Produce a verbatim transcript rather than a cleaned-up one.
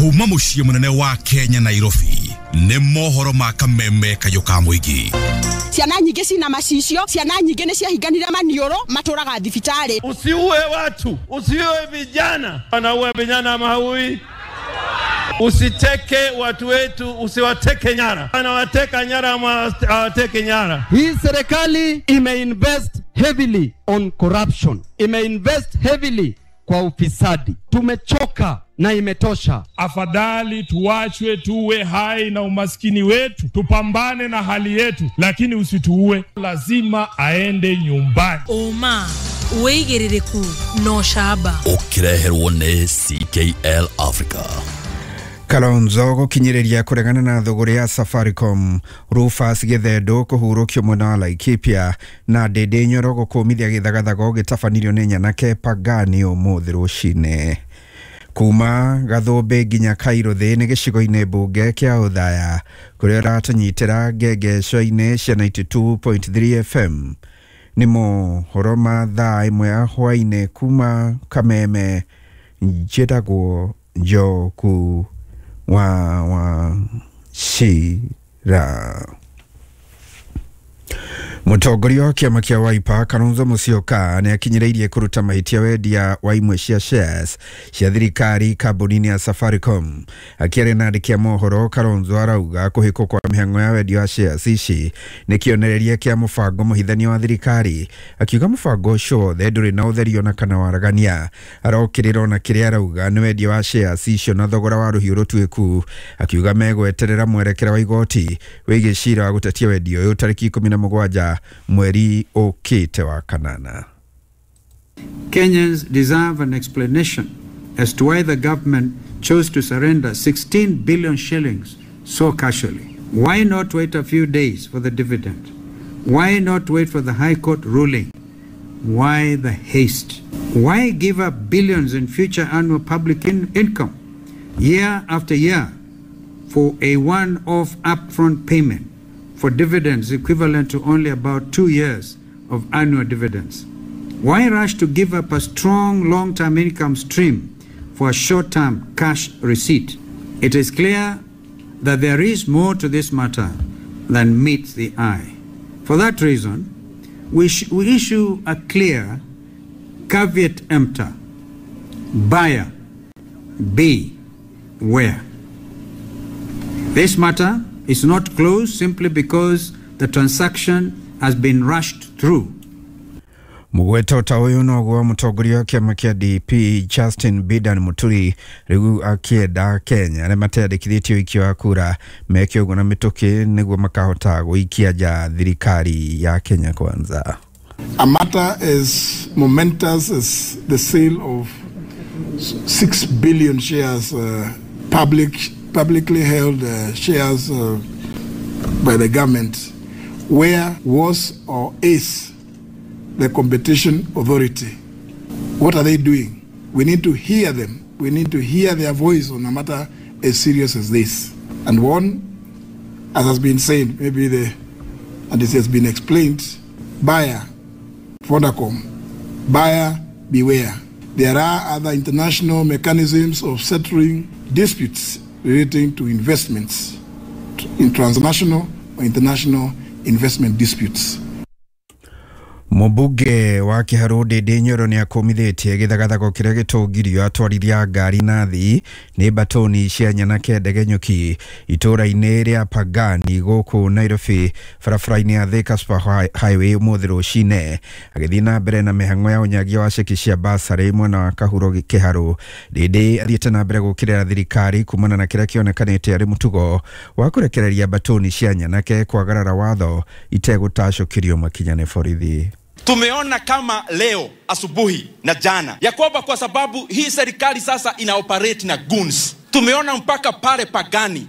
Kuma mũciĩ mũnene wa Kenya Nairobi nĩ mohoro ma kameme kayũ ka mũingĩ. Ciana nyingĩ cina macicio, ciana nyingĩ nĩ ciahinganire maniũrũ, matũraga thibitarĩ. Usiue watu, usiue vijana. Wanaua vijana ama haui? Usiteke watu wetu, usiwateke nyara. Wanawateka nyara ama hawateke nyara? Hii serikali imeinvest heavily on corruption. Imeinvest heavily kwa ufisadi. Tumechoka na imetosha. Afadhali tuachwe tuwe hai na umaskini wetu, tupambane na hali yetu, lakini usituue. Lazima aende nyumbani. Oma wĩigĩrĩrĩku no shaba. Ũkĩreherwo nĩ C K L Africa. Kalonzo gũkinyĩrĩria kũregana na thũgũrĩ ya Safaricom, Rufus Gĩthendo kũhurũkio mwena wa Laikipia na Ndĩndĩ Nyoro gũkũmithia gĩthagathago gĩtabanirio nĩ nyanake Pagani ũmũthĩ rũcinĩ. Kuma Gathũmbĩ nginya Kairuthi nĩ gĩcigo-inĩ mbunge kĩa Othaya kũrĩa ũratũnyitĩra ngengeco-inĩ cia ninety two point three F M. Nĩ mohoro ma thaa ĩmwe ya hwaĩ-inĩ kuma Kameme. Njĩtagwo Njoku wa wa Shira. Mũtongoria wa kĩama kĩa Wiper Kalonzo Musyoka nĩ akinyĩrĩirie kũruta mahĩtia wendia wa imwe cia shares cia thirikari kambuni-inĩ ya Safaricom. Akĩaria na andĩki a mohoro, Kalonzo arauga kũhĩkwo kwa mĩhang'o ya wendia wa shares ici nĩ kĩonereria kĩa mũbango mũhithania wa thirikari. Akiuga mũbango ũcio wothe ndũrĩ na ũtheri ona kana waragania. Arokĩrĩra ona kĩrĩa arauga nĩ wendia wa shares icio na thogora wa rũhiũ rũtuĩku. Akiuga megweterera mwerekera wa igoti wĩgiĩ cira wa gũtetia wendia ũyũ tarĩki ikũmi na mũgwanja mweri ũkĩte wa kanana. Kenyans deserve an explanation as to why the government chose to surrender sixteen billion shillings so casually. Why not wait a few days for the dividend? Why not wait for the High Court ruling? Why the haste? Why give up billions in future annual public in income year after year for a one-off upfront payment for dividends equivalent to only about two years of annual dividends? Why rush to give up a strong long-term income stream for a short-term cash receipt? It is clear that there is more to this matter than meets the eye. For that reason, we, sh we issue a clear caveat emptor. Buyer, be where. This matter is not closed simply because the transaction has been rushed through. Mugweto ta ũyũ noguo mũtongoria wa kĩama kĩa D P Justin Bidan Muturi rĩu akĩenda Kenya arĩa mateyandĩkithĩtie ũikia wa kura meke ũguo na mĩtũkĩ nĩguo makahota gũikia nja thirikari ya Kenya Kwanza. A matter as momentous as the sale of six billion shares, uh, public publicly held uh, shares uh, by the government, where was or is the competition authority? What are they doing? We need to hear them. We need to hear their voice on a matter as serious as this. And one, as has been said, maybe the, and this has been explained, buyer, Vodacom, buyer, beware. There are other international mechanisms of settling disputes relating to investments in transnational or international investment disputes. Mũmbunge wa Kĩharũ Ndĩndĩ Nyoro nĩ akũmithĩtie gĩthagathago kĩrĩa gĩtũngirio atwarithia ngari na thii nĩ mbatũni cia nyanake ndegenyũki itũũra-inĩ rĩa Pagani gũkũ Nairobi barabara-inĩ ya Thika Super Highway ũmũthĩ rũcinĩ. Agĩthiĩ na mbere na mĩhang'o ya ũnyagia wa ceki cia basarĩ mwena wa Kahuro Kĩharũ, Ndĩndĩ athiĩte na mbere gũkĩrĩra thirikari kumana na kĩrĩa kĩonekanĩte arĩ mũtugo wa kũrekereria mbatũni cia nyanake kwagarara watho itegũtacũkĩrio makinya nĩ borithi. Tumeona kama leo asubuhi na jana ya kwamba kwa sababu hii serikali sasa ina operate na goons. Tumeona mpaka pale Pagani